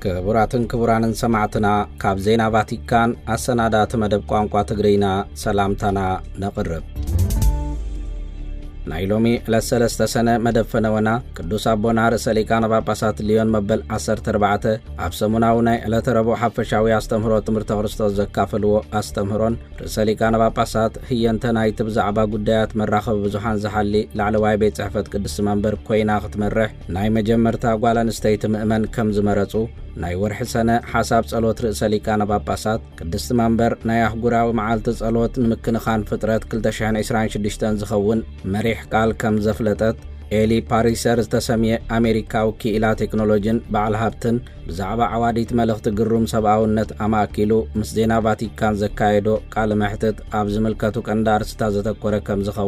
ክቡራትን ክቡራንን ሰማዕትና፣ ካብ ዜና ቫቲካን ኣሰናዳእቲ መደብ ቋንቋ ትግርኛ ሰላምታና ነቕርብ። ናይ ሎሚ ዕለት ሰለስተ ሰነ መደብ ፈነወና ቅዱስ ኣቦና ርእሰ ሊቃነ ጳጳሳት ሊዮን መበል ዓሰርተ ኣርባዕተ ኣብ ሰሙናዊ ናይ ዕለተ ረቡዕ ሓፈሻዊ ኣስተምህሮ ትምህርተ ክርስቶስ ዘካፈልዎ ኣስተምህሮን፣ ርእሰ ሊቃነ ጳጳሳት ህየንተ ናይቲ ብዛዕባ ጉዳያት መራኸቢ ብዙሓን ዝሓሊ ላዕለዋይ ቤት ጽሕፈት ቅድስቲ መንበር ኮይና ክትመርሕ ናይ መጀመርታ ጓል ኣንስተይቲ ምእመን ከም ዝመረጹ፣ ናይ ወርሒ ሰነ ሓሳብ ጸሎት ርእሰ ሊቃነ ጳጳሳት ቅድስቲ መንበር ናይ ኣህጉራዊ መዓልቲ ጸሎት ንምክንኻን ፍጥረት ክልተ ሽሕን ዕስራን ሽዱሽተን ዝኸውን መሪሕ ቃል ከም ዘፍለጠት፣ ኤሊ ፓሪሰር ዝተሰምየ ኣሜሪካዊ ክኢላ ቴክኖሎጂን በዓል ሃብትን ብዛዕባ ዓዋዲት መልእኽቲ ግሩም ሰብኣውነት ኣማእኪሉ ምስ ዜና ቫቲካን ዘካየዶ ቃለ መሕትት ኣብ ዝምልከቱ ቀንዲ ኣርእስታት ዘተኮረ ከም ዝኸውን